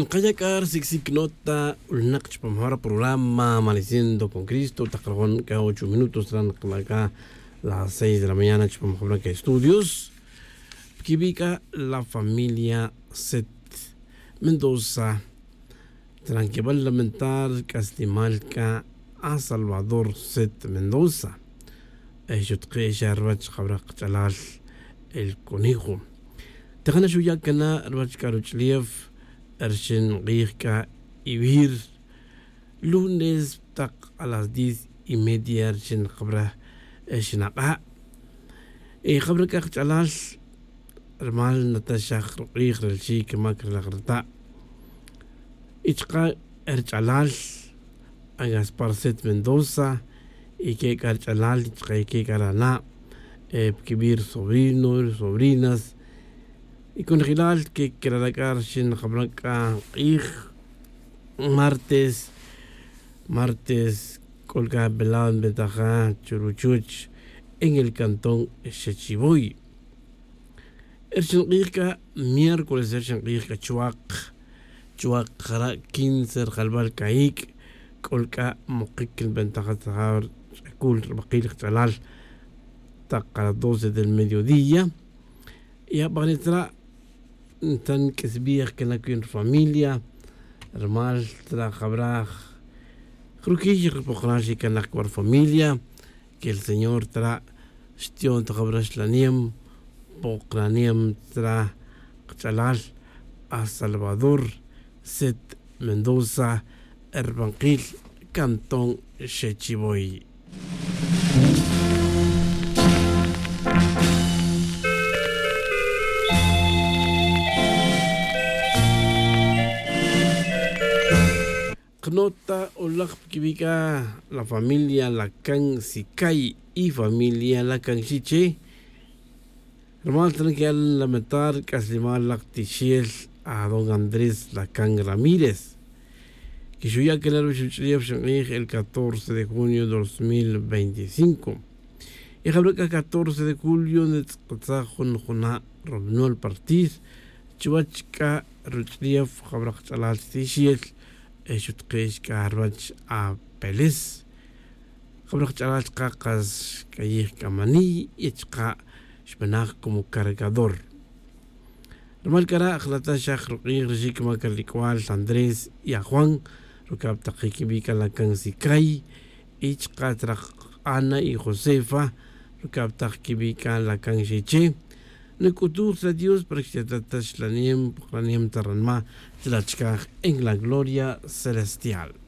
Nqaya' siksik nota ulnaq chupam programa Amaneciendo con Cristo taq ka 8 minutos acá las 6 de la mañana chupam estudios. Kibika la familia Set Mendoza. Tranquebal lamentar Castimalca a Salvador Set Mendoza. Xutqe xarbach xabraq chalal el conejo. Tejana xuyakana rbach karuchliev Ershin Qijka Ibir lunes taq a las 10:30 ershin qabra xinaqa qabra kaq chalal rmal Natasha qij relxik mak relaqrta ichqa erchalal a Gaspar Set Mendoza y que karchalal ichqa ke karana pkibir sobrinos sobrinas y con gilal que kralakar shin qabraka qij martes martes kolka belan betaja churuchuch en el cantón Xechiboy. Ershin qijka miércoles ershin qijka chuaq chuaq jara 15 rjalbal kaik kolka muqik bentaja tsajar kul baqil chalal taq a las 12 del mediodía. Y aparecerá tan que que la familia hermal tra jabraj Crukij que la familia que el Señor tra shtion tra laniem pokraniem tra chalal a Salvador Set Mendoza Herbanquil Cantón Xechiboy. Knota Olaj Kibika, la familia Lacan Sicay y familia Lacan Chiche. Hermano, tienen que lamentar Caslimal Lactichiel a don Andrés Lacan Ramírez, que ya que el 14 de junio de 2025. Y el 14 de julio, Robnol Partir, Chuachka, Ruchliev, Jabrach Tichiel. Xutqix k'arbach a Pelis jabraj ch'alal qaqas kayij kamani y chqa xb'anaj como cargador. Rmal kara jlata xaj ruq'ij rixik makarlikwal Andrés y a Juan rukab taqik Lacan Sikay y chqa traj Ana y Josefa rukab taq kibika Lacan Xiche Nekutur a Dios para que en la gloria celestial.